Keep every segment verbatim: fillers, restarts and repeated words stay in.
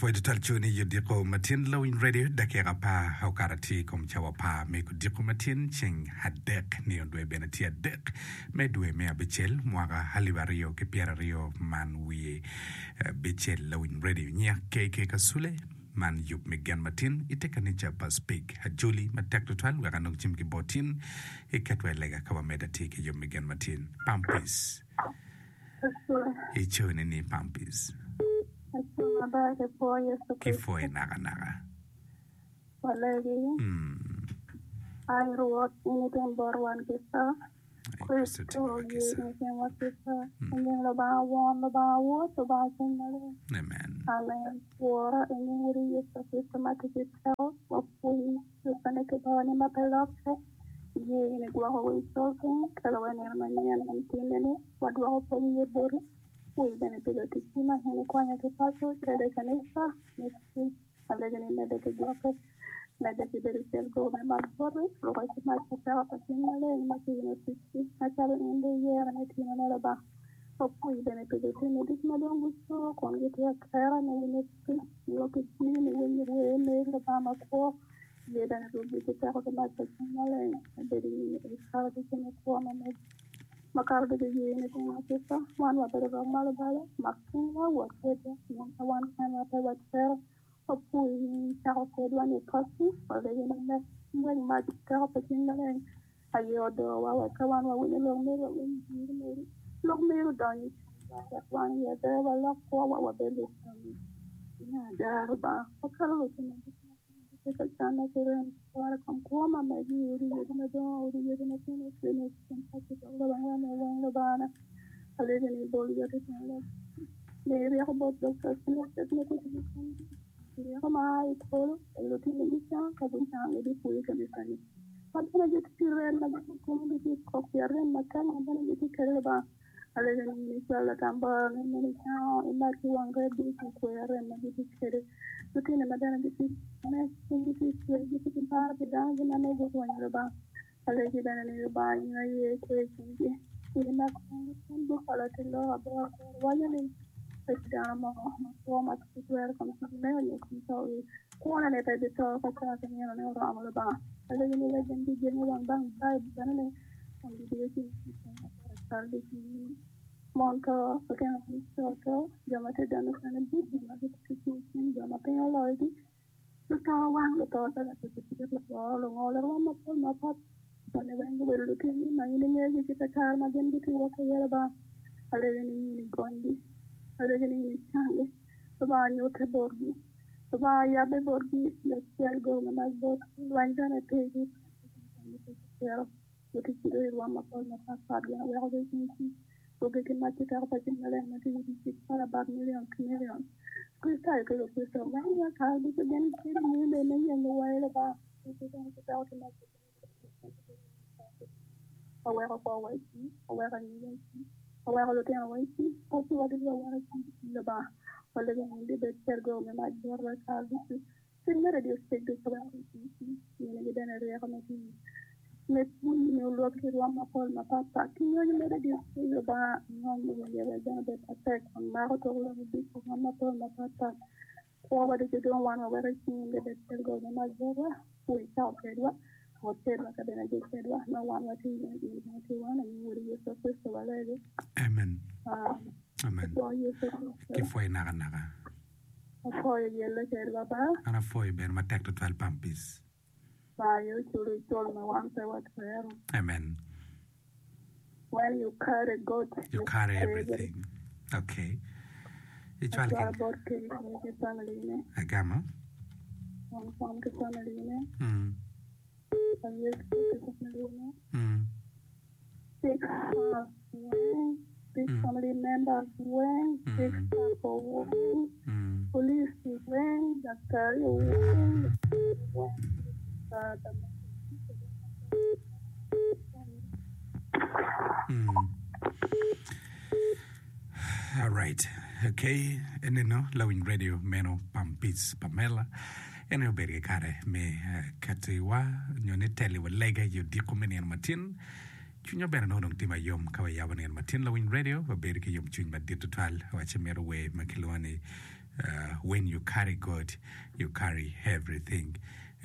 Apwoyo tutwal coni i odiko matin Lawiny Radio dakika apar okato tye i kom cawa apar me kodiko matin ceng adek nino dwe bene tye adek me dwe me abicel mwaka alip aryo ki pyeraryo man wiye abicel Lawiny Radio nyiya K K Kasule man yub me gen matin i te kanica pa Speke Ajoli matek tutwal wek anong cim ki bot tin iketwa i lega ka wamedde atir ki yub me gen matin Pampis Icone ni Pampis ki pwoyi nakanaka. Walegi. Mm. Ai Rwot, in itim bot wan kica. Ai Kricito Kricito timwa ye kica. in itimwa kica. I nying Lubanga Won, Lubanga Wod, Lubanga Cwiny Maleng. Amen. Amen. Wora, i nying Wodi Yecu Kricito ma tye ki teko, wapwonyi Yubbene ki babani ma pe lokke. Ye in igwoko wa i colpiny, kelo wa i nino manyen ma nitinne-ni, wadwoko pwony iye boti. Wi bene pi luticci ma in ikwanyo ki paco, calo i kanica, me tic, alego ni imedde ki gwokke, medde ki bedo cel gogo me mac boti, rukke ki mac pa teko pa Cwiny Maleng ma tye i luticci, macalo in dong iyero me timone Lubanga. Wapwoyi bene pi lutino ducu ma dong guco kun gitye atera me winyo tic nyo ki jami me winyo wer me Lubanga makwo. Ye bene rukgi ki teko ki mac pa Cwiny Maleng me bedo i nyimi i kare ducu me kwo ma megi. Makato ducu ye ni timo kica, wan wabedo rok ma lubalo, mak cwinywa, wot kwedwa, pien ka wan kenwa pe watwero, wapwoyi ni icako kwedwa ni pacci, walegi ni mek ngwec mac ki teko pa Cwiny Maleng aye odowa wek ka wan wawinyo lok meri wawiny jiri meri, lok meri odony i cwinywa wek wan i aber walok kwowa wabed lucanni. Me ada, Lubanga, wakelo lutino ducu ma gitye ka canne ki rem cware kom kwo ma megi i odi yadi madongo, odi yadi matino, clinic, kin paci dok Lubanga me weng Lubangana. Alegi ni ibol yot i tyen lok. Mi ryeko bot doctors ki nurses me tito ki komgi. Ryeko ma a i polo, wek lutino gicang, ka gucang gibipwoyo kanicani. Ma bene gitye ki rem ma gitye komgi gitye kok pi arem matek ma bene gitye kwede Lubanga. Alegi ni in icwal latambara ni meno icango, imed ki wang ret ducu ikwer arem ma gitye kwede. Lutino ma bene gitye me gitye cwer gitye ki par pi danogi ma nongo gurwenyo Lubanga. Alegi bene ni Lubanga in aye ikwe cwinygi. In imak cwinygi kun gukalo te lok aboro aboro waco ni pe tye dano mo ma kwo ma tye ki twero kom cwiny me onyo kom to i kwone ni pe bito ka ca ki nino ne oromo Lubanga. Alegi ni wek gin gijenge wang bang Baibul bene ni kun gidiyo cwinygi cal ducu mon to, lutino co to, jo ma tye dano kene ducu ma gitye ki cwiny, jo ma piny oloyogi, luto wang, luto calo pikipiki, lugoro, lungolo, rwom mapol mapat. Joni weng gubedo lutini ma in ingeyogi ki te kare ma gin gitye wot iye Lubanga. Alegi ni in igonygi, alegi ni in icanggi, Lubanga nyutte botgi, Lubanga yabbe botgi, wek cel gogo me mac botgi, lweny bene pigi, luticci dong i rwom mapol mapatpat gin oweko gicwiny rukgi ki mac ki teko pa Cwiny Maleng ma tye i tic calo about million ki million. Kricitayo ki Lukricito weng i kare ducu gin bedo nyime me yenyo wai Lubanga ki teko ki mac oweko kwowa i cing, oweko anyira i cing, oweko lutinowa i cing, paciwa ducu waweko i cing Lubanga. Walego ni gibed cel gogo me mac botwa i kare ducu. Cwiny me radio stage ducu waweko i cing, minigi bene ryeko me tiyo me pwony me olwok ki rwom mapol mapatpat. Ki nyonyo me radio stage Lubanga ngony me winye wek bene obed matek kun mako tok lok i ducu rwom mapol mapatpat. Kwowa ducu dong wan waweko i cing gibed cel gogo me mac botwa, wi cako kwedwa, wot kwedwa ka bene agik kwedwa, ma wan watye i in bene tye wan, i nying Wodi Yecu Kricito walegi. Amen. Amen. Amen. Apwoyo Yecu Kricito. Kipwoyi nakanaka. Apwoyo yelle kwedwa ba. An apwoyo bene matek tutwal Pampis. Ba aye oculo icul ma wan pe watwero. Amen. When you carry God, You carry everything. Okay. Icwal Acwalo ki bot K K ki family ne. agamo. Wang Kwam ki family ne. Mm. Ayesu ki family ne. Mm. Six house weng. Six Mm. family members weng. Six Mm. couple weng. Mm. Police weng. Daktari weng. Weng. Mm. All right. Okay. Eneno Lawiny Radio meno Pampis Pamela. Ene obedo ki kare me eh, katiwa nyo ni teliwa lega i odiko me nino matin. Cwinywa bene nongo dong tye mayom ka wayabo nino matin Lawiny Radio wabedo ki yomcwiny madit tutwal wacci mito wer ma kilwongo ni Uh, when you carry God, you carry everything.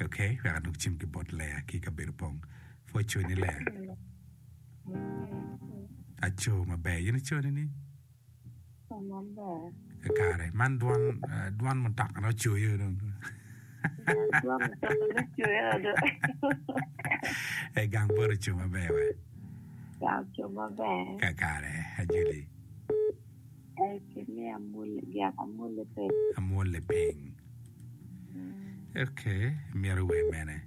Okay, wek anok cim ki bot Lea ki kabedo pong. Pwoc coni Lea. Aco maber. In iconi ni? Maber. Kare. Man dwon, uh, dwon mutoka na ocoyo dong. Dwon mutoka na ocoyo do. E gang bot oco maber we. Gang oco maber. Kakare, ajuli. E kimi amule, gyak amule piny. Amule piny. Okay, imito wer mene?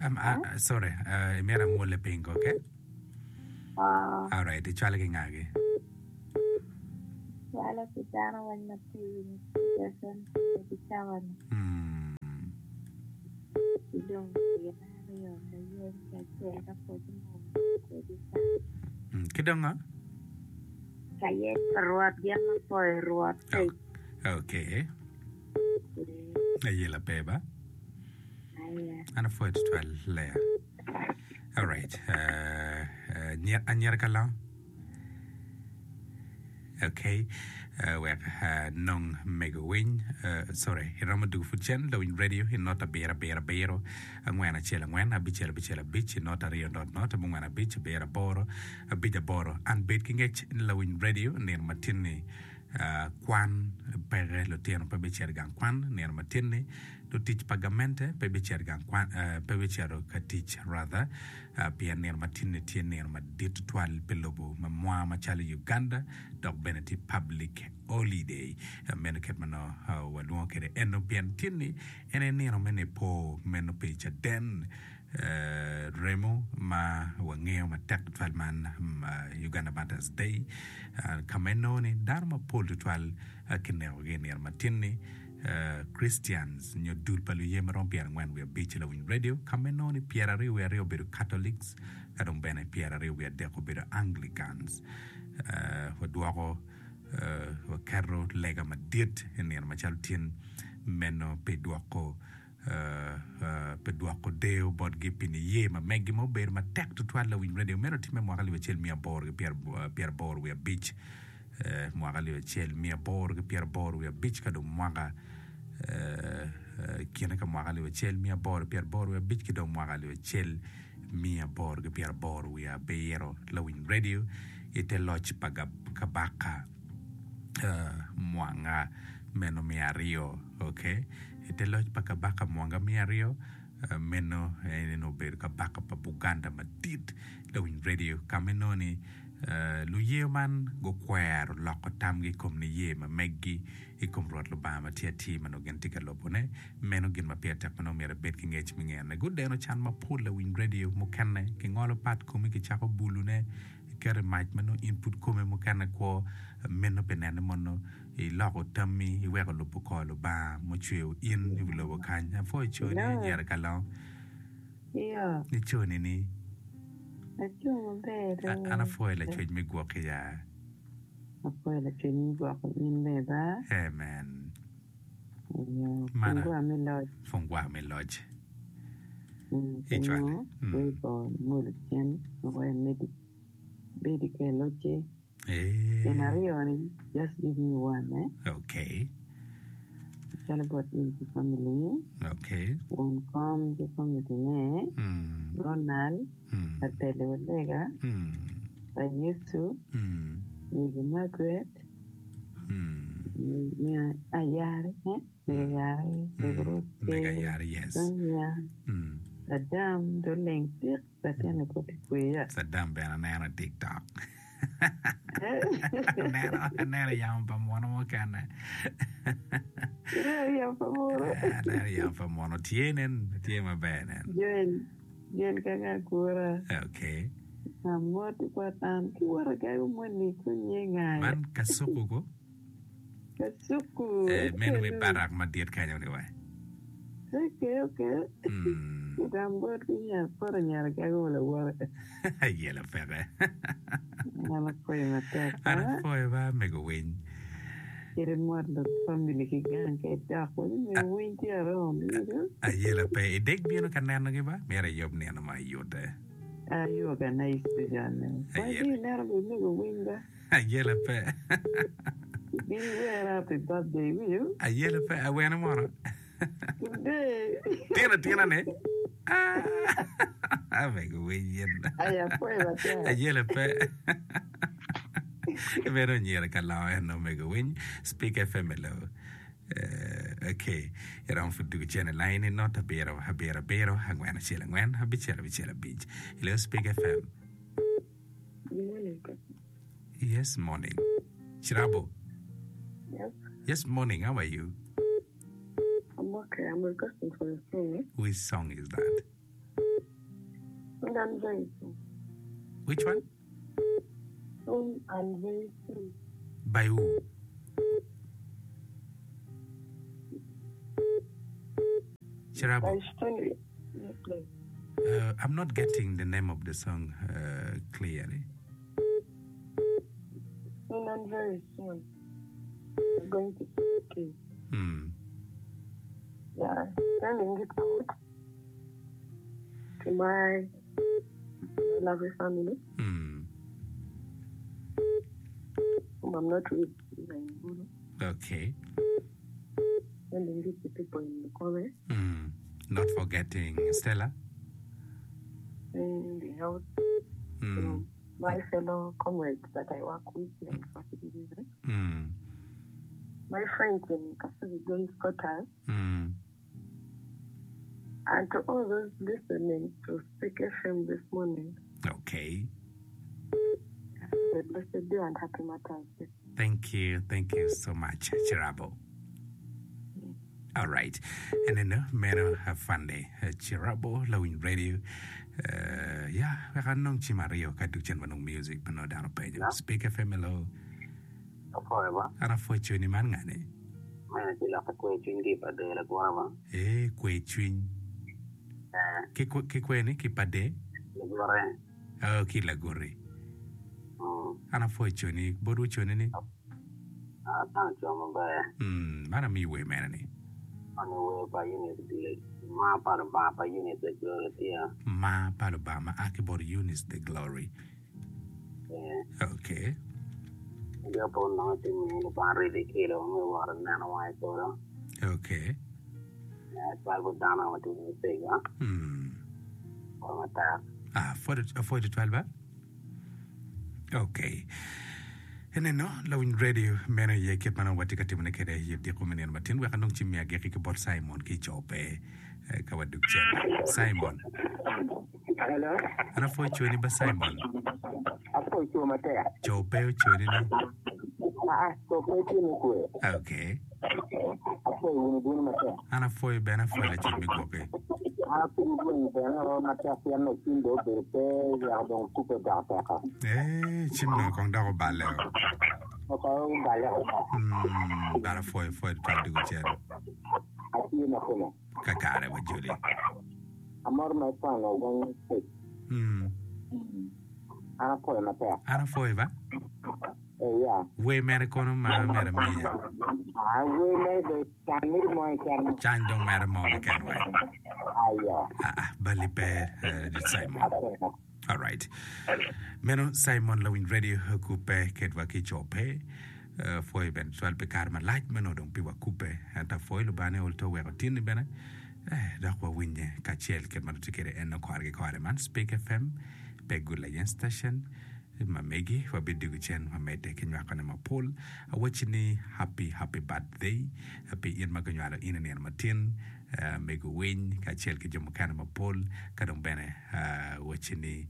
Um, uh, uh, sorry, uh, imito amule piny ko, okay? Ah. Alright, icwalo ki ngagi? Cwalo ki dano weng ma tye i winyo station ki cawa ni. Mm. Ki dong gin aryo ka yen kacel ka pwod mo kwedi ka. Mm. Ki dong ngo? Ka yen pa Rwot gin ma poyo Rwot. Oh. Okay. Ayela pe ba? Aya. An apwoyo tutwal Lea. Alright. Uh, uh, nyer, anyira ka long? Okay. Uh, wek uh, nong mego winy. Uh, sorry, iromo dugo pud cen lawiny radio i not abiro abiro abiro angwen acel angwen abicel abicel abic i not aryo not not abongwen abic abiro aboro abic aboro. An bed ki ngec ni lawiny radio nino matin-ni uh, kwan peke lutino pe bicito i gang kwan nino matin-ni lutic pa gamente pe bicito i gang kwan uh, pe bicito ka tic rather uh, pien nino matin-ni tye nino madit tutwal pi lobo ma mwa macalo Uganda dok bene tye public holiday uh, meno kit ma nongo uh, walwongo kwede eno pien tin-ni en aye nino me nipo meno pi caden uh, remo ma wangeyo matek tutwal man um, uh, Uganda Martyrs Day uh, ka ma inongo ni dano mapol tutwal uh, kinekogi i nino matin-ni uh, Christians nyo dul pa luye marom pyerangwen wiye abic lawiny radio ka ma inongo ni pyeraryo wiye aryo obedo Catholics ka dong bene pyeraryo wiye adek obedo Anglicans uh, wadwoko uh, waketo lega madit i nino macalo tin meno pi dwoko uh, uh, pi dwoko deo botgi pi niye ma megi ma obedo matek tutwal lawiny radio meno timme mwaka alip acel miya aboro ki pyera- pyeraboro wiye abic eh, mwaka alip acel miya aboro ki pyeraboro wiye abic ka dong mwaka eh, eh, kine ka mwaka alip acel miya aboro pyeraboro wiye abic ki dong mwaka alip acel miya aboro ki pyeraboro wiye abiro lawiny radio i te loc pa gab- kabaka uh, Mwanga meno miya aryo okay i te loc pa kabaka Mwanga miya aryo uh, meno en obedo kabaka pa Buganda madit lawiny radio ka ma inongo ni uh, luye man gukwero loko tamgi i kom niye ma meggi i kom Rwot Lubanga ma tye atir ma nongo gin tye ka lobone meno gin ma pire tek ma nongo myero ibed ki ngec me ngene gudeno can mapol lawiny radio mukene kingolo pat komi kicako bulune iketo i mac ma nongo in pud kome mukene kwo meno pi nene mono iloko tammi iweko lubo kor Lubanga mucweyo in i wi lobo kany apwoyo coni Hello. anyira ka long Iyo. iconi ni Aco maber A- an apwoyo lacwec me gwoki ya Apwoyo lacwec me gwoko in bene ba. amen Iyo. Mana Fungwa me loc. fungwa me loc Mm, icwale Pingo Mm. weko ngolo cen wek medi bedi ka ilocce. Eh, Gin aryo ni just give me one eh. okay Calo bot in ki family. okay Won kom ki family ne. Mm. Ronald. Mm. Atele Olega. Mm. Pa Yesu. Mm. Mego Margaret. Mm. Mego Ayare. Eh? Mego Ayare. Mego Mm. Mego Rose. Ayare, yes. Sonia. Mm. Saddam Doleng Tik. Latin koti kweya. Saddam bene aneno i TikTok. Aneno aneno yamo pa muno mukene. Ineno yamo pa muno. Aneno yamo pa muno tye nen tye maber nen. Joel. Joel kaka akura. Okay. Amoti bot an ki wot agago moni kunye ngaya. Man kasuku ko. Kasuku. Eh, meno mi barak madit kanyo ni we. Okay, okay. Mm. Gam bot ki nyar poto nyar gago lawote. Ayela peke. An apwoyo matek. An apwoyo ba mego winy. Kede mot lo family ki gang ka idok. Wani mego winy tye around. You know? Ayela pe. Idek bino ka nenogi ba? Myero iyub nino ma iyute. I organize station. Why Ayela. do you neno be mego winy ba? Ayela pe. Bin wera happy birthday, will you? Ayelo pe awene mono. Today. Tino tina ne. Ah, amego winy yen. Aya apwoyo matek. Ayelo pe. Bedo onyira ka longo en omego winy. Speak FM hello. Uh, okay. Iromo pud dugo cen i line ni not abiro abiro abiro angwen acel angwen abicel abicel abic. Hello Speak FM. Good morning. Yes, morning. Chirabo. Yes, Yes, morning. How are you? I'm okay. I'm requesting for a song. Eh? Which song is that? Soon and very soon. Which one? Soon and very soon. By who? Chirabo. By Stanley. Yes, please. Uh, I'm not getting the name of the song uh, clearly. Soon and very soon. I'm going to see okay. Hmm. Yeah, sending it out to my lovely family, Hmm. whom I'm not with in Gulu. Okay. Sending it to people in Mukove, Hmm. Not forgetting Stella. sending out Hmm. to my fellow comrades that I work with here in First Division, Hmm. my friends in Kasubi Girls Quarters, Hmm. and to all those listening to Speak FM this morning. Okay. Have a blessed day and happy Mother's Day. Thank you. Thank you so much, Chirabo. All right. And then, uh, meno have fun day. Uh, Chirabo, Lawin Radio. Uh, yeah, wek anong cim aryo ka duk cen wanong music pa no dano penyo. Speak FM hello. Apwoyo ba? An apwoyo cwinyi man ngani? Mene ci lokke kwe cwiny ki i pade lagwara ba? Eh, kwe cwiny. Eh, Ki kwe ki kwe ni ki pade? lagwara. Oh, ki laguri. Mm. An apwoyo cwinyi. Bodwu cwinyi ni? Ah, tang cwa maber. Mm, man amiyi wer mene ni? Ani wer pa Eunice Gile. Ma pa Lubanga pa Eunice the Glory tye. Ma pa Lubanga ma a ki bot Eunice the Glory. Eh, Okay. jo po nongo ti mi Lubanga ridi kilo me woro neno wang'e i polo. Okay. Eh, twal bot dano ma tye i pego. Mm. Pol matek. Ah, forty, forty twelve ba? Okay. Eneno, Lawiny Radio meno iye kit ma nongo watye ka timone kwede i odiko me nino matin wek anong cim me agikki ki bot Simon ki i Cope eh, ka wadug cen. Simon. Hello. An apwoyo cwinyi ba Simon. Apwoyo cwo matek. Cope ocwinyi ni? Ah, cope tye me kwe. Okay. Apwoyo wunu bino matek. An apwoyo bene apwoyo lacen me gwoki. An apwoyo gwenyi bene o matek pien no cim do obedo pe weko dong kupe dok teko. Eh, cim no kong dok oballe o. Oko oballe o. Mm, but apwoyo apwoyo twal dugo cen. Atye makome. Kakare wa Julie. Amor ma ikwano weng pec. Mm. An apwoyo matek. An apwoyo ba? Eh, ya. Wer mere kono ma mere miya. Ah, wer mere do can miri mo keken. Can dong mere mo keken we. Ayo. Ah, ah, bali pe uh, Simon. Apwoyo. All right. Meno Simon Lawiny Radio kupe kedwa ki Cope. Uh, pwoyo bene twal pi kare malac meno dong pi wakupe. Ento apwoyo Lubanga ni ol to weko tinni bene. Eh, dok wawinye kacel kit ma tye kwede en kore ki kore man Speak FM pe Good Layen Station ma megi wabidugo cen wamedde ki nywakone mapol awacci ni happy happy birthday pi in ma ginywalo in i nino matin uh, mego winy kacel ki jo mukene mapol ka dong bene uh, wacci ni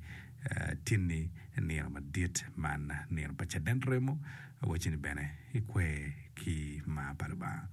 uh, tinni nino madit man nino pa caden remo awacci ni bene ikwe ki mar pa Lubanga.